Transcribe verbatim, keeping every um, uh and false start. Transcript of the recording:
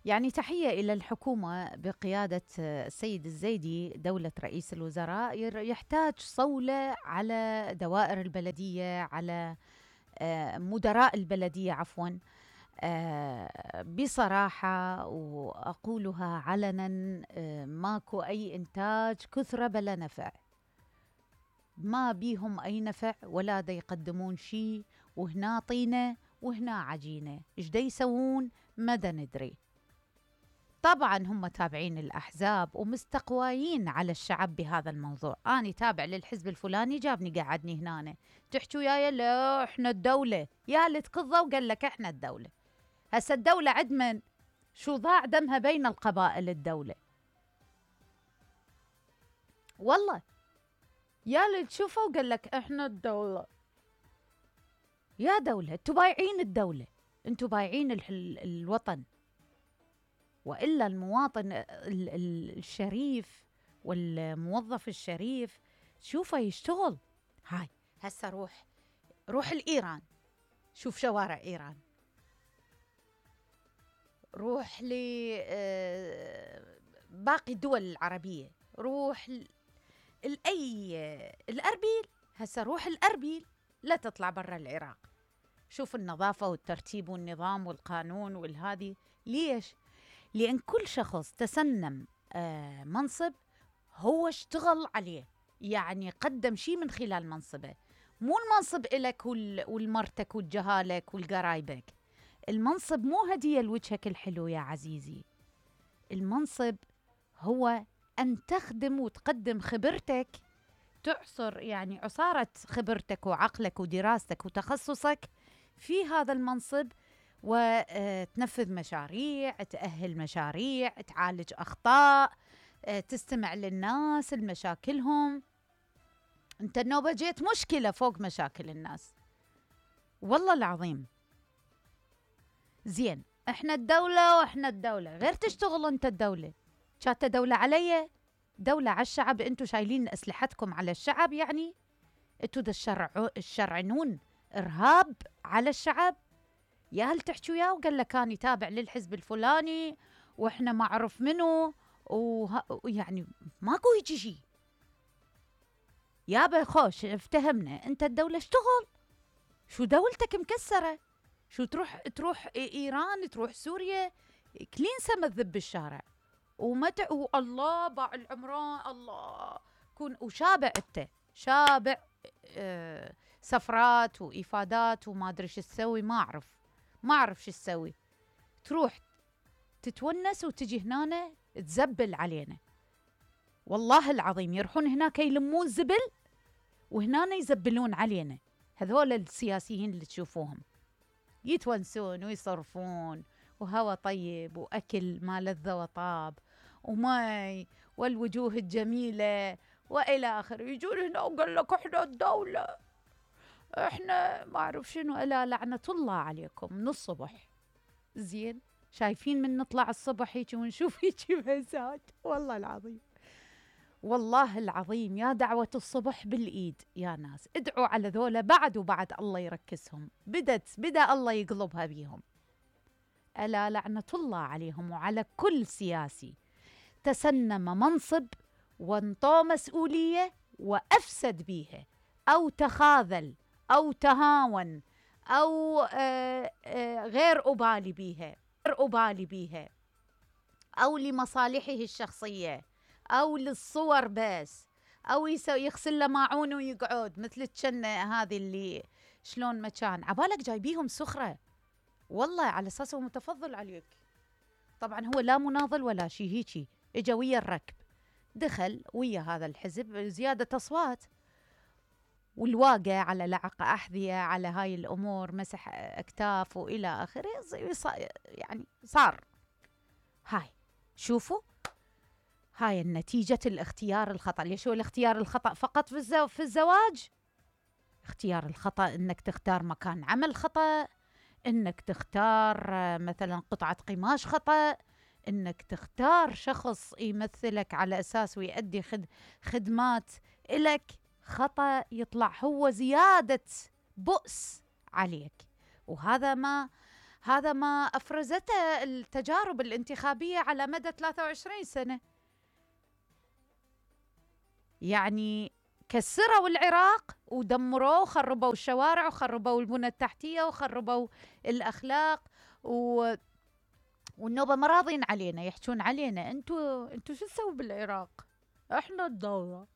يعني تحية إلى الحكومة بقيادة السيد الزيدي دولة رئيس الوزراء. يحتاج صولة على دوائر البلدية، على مدراء البلدية عفواً، بصراحة وأقولها علناً، ماكو أي إنتاج كثرة بلا نفع، ما بيهم أي نفع ولا دا يقدمون شي، وهنا طينة وهنا عجينة، إيش دا يسوون ما دا ندري. طبعاً هم تابعين الأحزاب ومستقوايين على الشعب بهذا الموضوع. أنا تابع للحزب الفلاني جابني قعدني هنا، تحكوا يا لا إحنا الدولة، يا اللي تقضى وقال لك إحنا الدولة. هسا الدولة عد من شو ضاع دمها بين القبائل الدولة، والله يا اللي تشوفه وقال لك إحنا الدولة. يا دولة انتوا بايعين الدولة، انتوا بايعين الوطن، وإلا المواطن الشريف والموظف الشريف شوفه يشتغل. هاي هسا روح روح الإيران، شوف شوارع إيران، روح لباقي الدول العربية، روح الأي الأربيل، هسا روح الأربيل لا تطلع برا العراق، شوف النظافة والترتيب والنظام والقانون والهادي. ليش؟ لأن كل شخص تسنم آه منصب هو اشتغل عليه، يعني قدم شيء من خلال منصبه، مو المنصب إلك والمرتك والجهالك والقرايبك. المنصب مو هدية لوجهك الحلو يا عزيزي، المنصب هو أن تخدم وتقدم خبرتك، تعصر يعني عصارة خبرتك وعقلك ودراستك وتخصصك في هذا المنصب، وتنفذ مشاريع، تأهل مشاريع، تعالج أخطاء، تستمع للناس المشاكلهم. أنت النوبة جيت مشكلة فوق مشاكل الناس، والله العظيم. زين إحنا الدولة وإحنا الدولة، غير تشتغل أنت الدولة، شات دولة علي، دولة على الشعب. أنتوا شايلين أسلحتكم على الشعب، يعني أنتوا دا الشرع الشرعنون إرهاب على الشعب. يا هل تحكوا يا وقال لك أنا تابع للحزب الفلاني وإحنا ما أعرف منه، ويعني ماكو يجي شي. يا بخوش افتهمنا، أنت الدولة اشتغل، شو دولتك مكسرة، شو تروح تروح إيران، تروح سوريا، كلين سما الذب بالشارع ومتع والله باع العمران، الله كون وشابع، أنت شابع اه سفرات وإفادات وما أدري شو تسوي، ما أعرف ما أعرف شو تسوي، تروح تتونس وتجي هنا تزبل علينا. والله العظيم يروحون هناك يلمون زبل وهنا يزبلون علينا. هذول السياسيين اللي تشوفوهم يتونسون ويصرفون وهوا طيب وأكل ما لذ وطاب وماي والوجوه الجميلة وإلى آخر، يجون هنا وقال لك إحنا الدولة، إحنا ما أعرف شنو، ألا لعنة الله عليكم من الصبح. زين شايفين من نطلع الصبح هيك ونشوف هيك مهزات، والله العظيم والله العظيم يا دعوة الصبح بالإيد يا ناس، ادعوا على ذولا بعد وبعد الله يركسهم، بدت بدأ الله يقلبها بيهم. ألا لعنة الله عليهم وعلى كل سياسي تسنم منصب وانطى مسؤولية وأفسد بيها أو تخاذل أو تهاون أو آآ آآ غير أبالي بيها غير أبالي بيها أو لمصالحه الشخصية أو للصور بس، أو يغسل له ماعون ويقعد مثل الجنة هذه اللي شلون مكان عبالك جايبيهم سخرة، والله على أساسه متفضل عليك. طبعا هو لا مناضل ولا شيء، هيجي اجا ويا الركب، دخل ويا هذا الحزب زيادة أصوات، والواقع على لعق أحذية على هاي الأمور، مسح أكتاف وإلى آخره، يعني صار. هاي شوفوا هاي النتيجة الاختيار الخطأ. ليش هو الاختيار الخطأ فقط في, الزو... في الزواج؟ اختيار الخطأ انك تختار مكان عمل خطأ، انك تختار مثلا قطعة قماش خطأ، انك تختار شخص يمثلك على اساس ويؤدي خد... خدمات إلك خطأ، يطلع هو زيادة بؤس عليك. وهذا ما هذا ما أفرزته التجارب الانتخابية على مدى ثلاثة وعشرين سنة. يعني كسروا العراق ودمروه وخربوا الشوارع وخربوا البنى التحتية وخربوا الأخلاق و... والنوبة ما راضين علينا، يحجون علينا انتوا انتوا شو تسووا بالعراق؟ احنا الدولة.